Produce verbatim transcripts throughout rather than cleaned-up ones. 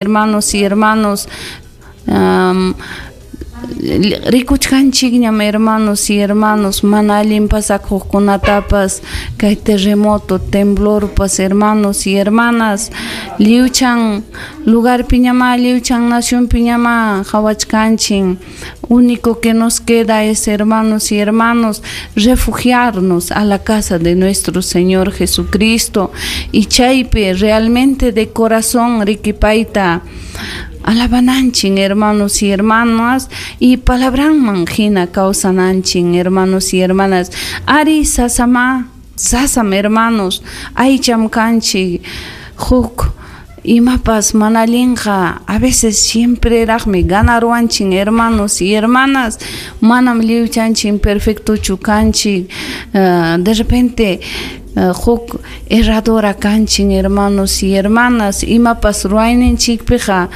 Hermanos y hermanos, um, rikuchkanchikñam, hermanos y hermanos, mana allin pasakuqkunatapas, kay terremoto, temblorpas, hermanos y hermanas, lliwchan lugarpiñamá, lliwchan nacionpiñamá qawachkanchik. Único que nos queda es, hermanos y hermanos, refugiarnos a la casa de nuestro Señor Jesucristo y chaypi realmente de corazón riki payta alabananchik, hermanos y hermanas, y palabranman hina kawsananchik, hermanos y hermanas. Ari sasama, sasam, hermanos, aycham kanchik, huk imapas mana allinqa a veces siempre raqmi ganaruwanchik, hermanos y hermanas. Manam lliwchanchik perfectochu kanchik, uh, de repente uh, huk erradora kanchik, hermanos y hermanas, imapas ruwayninchikpiqa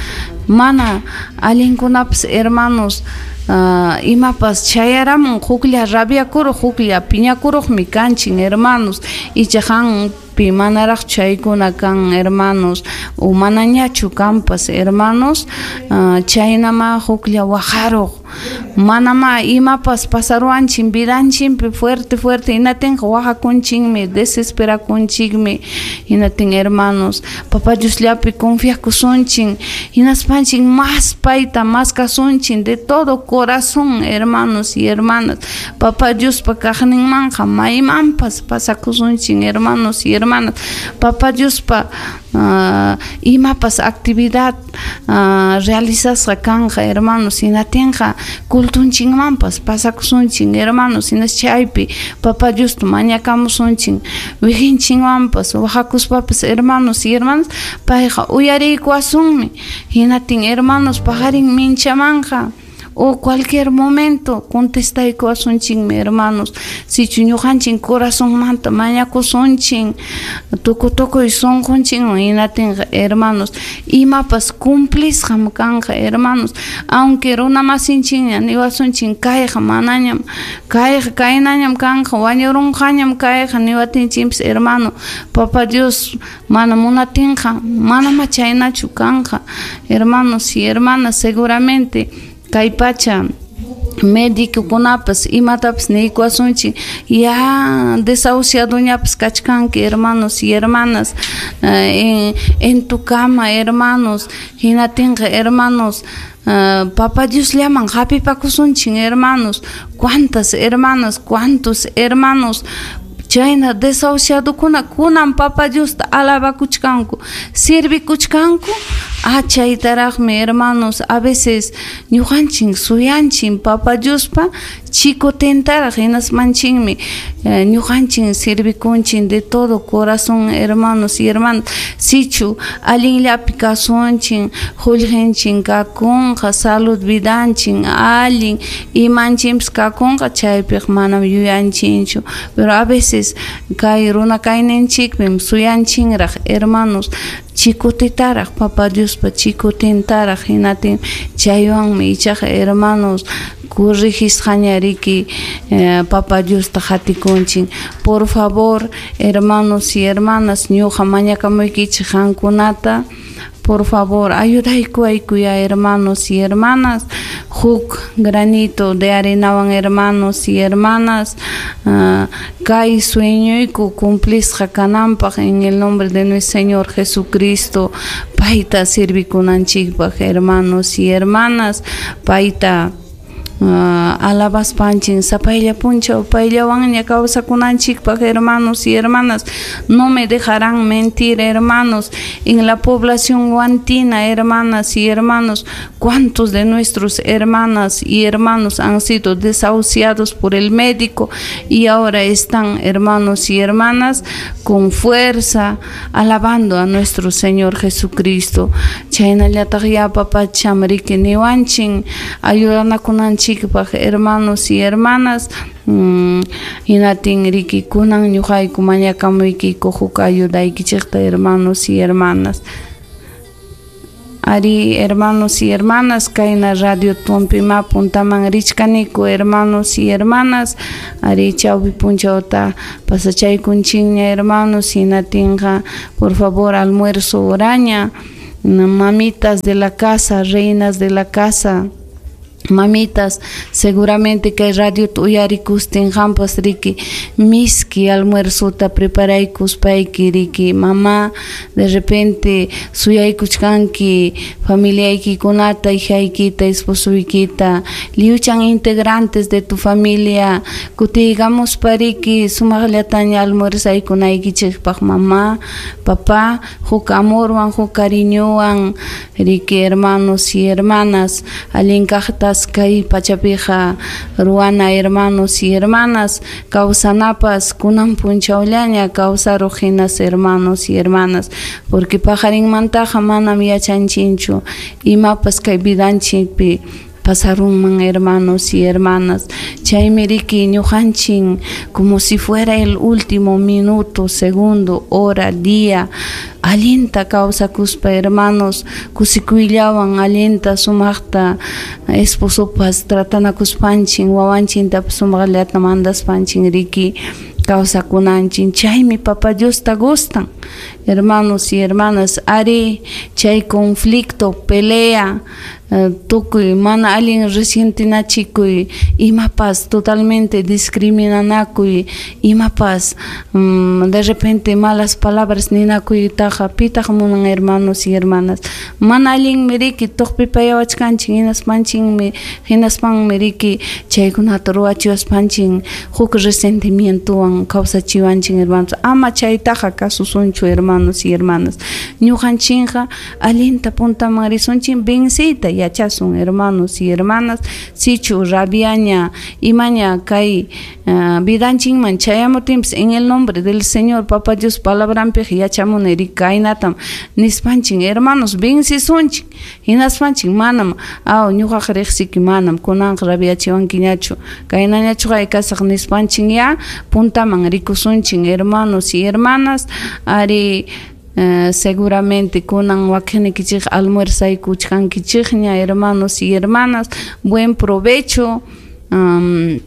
mana allinkunapas, hermanos, uh, imapas chayaramun huklla rabiakuruq, huklla piñakuruqmi kanchik, hermanos. Icha qampi manaraqchu chaykuna kan, hermanos, o manañachu kanpas, hermanos, uh, chaynama huklla waqaruq, manama imapas pasaruwanchik vidanchikpi fuerte fuerte, hinatinqa waqakunchikmi, desesperakunchikmi. Hinatin, hermanos, Papa Diosllapi confiakusunchik, hinaspanchik mas payta maskasunchik de todo corazón, hermanos y hermanas. Papa Diospa kaqninmanqa maymanpas pasakusunchik, hermanos y hermanas. Papa Diospa uh, imapas actividad uh, realizasqa kanqa, hermanos, hinatinqa cultunchikmanpas pasakusunchik, hermanos, hinas chaypi Papa Diosta mañakamusunchik wiqinchikwanpas waqakuspapas, hermanos y hermanas, payqa uyariykuwasunmi. Hinatin, hermanos, paqarin minchamanqa o cualquier momento contestaykuwasunchikmi, hermanos, sichu ñuqanchik corazonmanta mañakusunchik tukuy tukuy sunqunchikwan. Hinatinqa, hermanos, imapas cumplisqam kanqa, hermanos, aunque runamasinchikña niwasunchik kayqa manañam kayqa kaynañam kanqa, wañurunqañam kayqa niwatinchikpas, hermano, Papa Dios mana munatinqa manamá chaynachu kanqa, hermanos y hermanas. Seguramente kay pacha médicokunapas imatapas niykuwasunchik, ya desahuciadoñapas kachkanki, hermanos y hermanas, en, en tu cama, hermanos. Hinatinqa, hermanos, uh, Papa Diosllaman hapipakusunchik, hermanos. Cuántas hermanas, cuántos hermanos chayna desahuciadokuna kunan Papa Diosta alabakuchkanku, servikuchkanku. Ah, chaytaraqmi, hermanos, a veces ñuqanchik suyanchik Papa Diospa chikutintaraq, hinasmanchikmi eh, ñuqanchik servikunchik de todo corazón, hermanos y hermanas. Sichu allinllapi kasunchik, qullqinchik kakunqa, salud vidanchik allin, imanchikpas kakunqa, chaypiqa manam yuyanchikchu, pero a veces kay runa kayninchikpim suyanchinraq, hermanos, chikutitaraq, Papa Diospa chikutintaraq. Hinatin chaywanmi ichaqa, hermanos, corrigisqaña riki eh, Papa Diosta qatikunchik. Por favor, hermanos y hermanas, ñuqa mañakamuykichik qamkunata, por favor, ayudaykuwaykuyá, hermanos y hermanas, huk granito de arenawan, hermanos y hermanas, uh, kay sueñoyku cumplisqa kananpaq en el nombre de nuestro Señor Jesucristo, payta servikunanchikpaq, hermanos y hermanas, payta uh, alabaspanchik sapaylla punchaw payllawanña kawsakunanchikpaq, hermanos y hermanas. No me dejarán mentir, hermanos, en la población huantina, hermanas y hermanos, cuántos de nuestros hermanas y hermanos han sido desahuciados por el médico y ahora están, hermanos y hermanas, con fuerza alabando a nuestro Señor Jesucristo. Chaynallataq ya papacham riki niwanchik ayudanakunanchikpaq, hermanos y hermanas. mm, hinatin riki kunan ñuqayku mañakamuykiku huk ayudaykichikta, hermanos y hermanas. Ari, hermanos y hermanas, kayna radio tumpima puntaman richkaniku, hermanos y hermanas. Ari chawpi punchawta pasachaykunchikña, hermanos, hinatinqa por favor almuerzo horaña. Mamitas de la casa, reinas de la casa, mamitas, seguramente kay radio uyarikustin qampas riki miski almuerzota preparaykuspayki riki mamá, de repente suyaykuchkanki familiaykikunata, hijaykita, esposoykita, liuchan integrantes de tu familia kutiykamuspa riki sumaqllataña almuerzaykunaykichikpaq mamá, papá, huk amorwan, huk cariñowan riki hermanos y hermanas, allin kaqta kay pachapiqa ruwana hermanos y hermanas, kawsanapas kunan punchawllaña kawsaruq hinas hermanos y hermanas, porque paqarinmantaqa manam yachanchinchu imapas kay vidanchikpi pasarunman hermanos y hermanas. Chaymi riki ñuqanchin como si fuera el último minuto, segundo, hora, día, allinta kawsakuspa hermanos, kusikuyllawan allinta sumaqta esposopas tratanakuspanchin, wawanchintapas sumaqllata mandaspanchin riki kawsakunanchin. Chaymi Papa Diosta gustan, hermanos y hermanas. Ari chay conflicto, pelea, tukuy mana allin resientinachikuy, imapas totalmente discriminanakuy, imapas mm, de repente malas palabras ninakuytaqa pitaq munan hermanos y hermanas. Mana allinmi riki tuqpipayawachkanchik hinaspanchinmi hinaspanmi riki chaykunata ruwachiwaspanchin huk resentimientowan kawsachiwanchin hermanos. Ama chaytaqa kasusunchu hermanos y hermanas. Ñuqanchinqa allinta puntaman risunchin venciyta yachasun hermanos y hermanas. Sichu rabiaña imaña kay uh, vidanchinman chayamutinpas en el nombre del Señor Papa Dios palabranpiq yachamuni riki kaynatam nispanchin hermanos vencisunchik hinaspanchin manam aw ñuqaqa riqsiki manam kunanqa rabiachiwankiñachu kaynañachu kasaq nispanchin ya puntaman rikusunchin hermanos y hermanas. Ari Uh, seguramente kunan wakinnikichik almuerzaykuchkankichikña hermanos y hermanas, buen provecho. Um,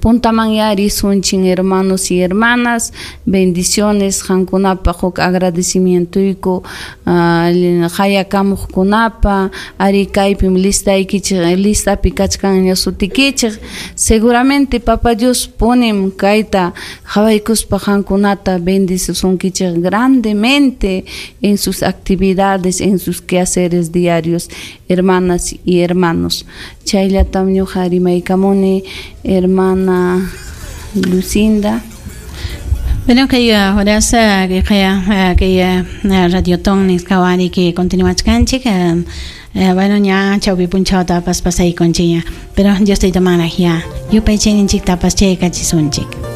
puntaman ya risunchin hermanos y hermanas, bendiciones qankunapaq huk agradecimientoyku uh, hayakamuqkunapa ari kaypim listaykichik listapi kachkanña sutikichik. Seguramente Papa Dios punim kayta qhawaykuspa qankunata bendicisunkichik grandemente en sus actividades, en sus quehaceres diarios, hermanas y hermanos. Chayllatam ñuqa rimaykamuni, hermana Lucinda. Bueno, kay horas kay kay Radiotón nisqawari que continuachkanchik. Bueno, ña chawpi punchawtapas pasaykunchikña, pero Dios tayta manaq ya yupaychayninchiktapas chaykachisunchik.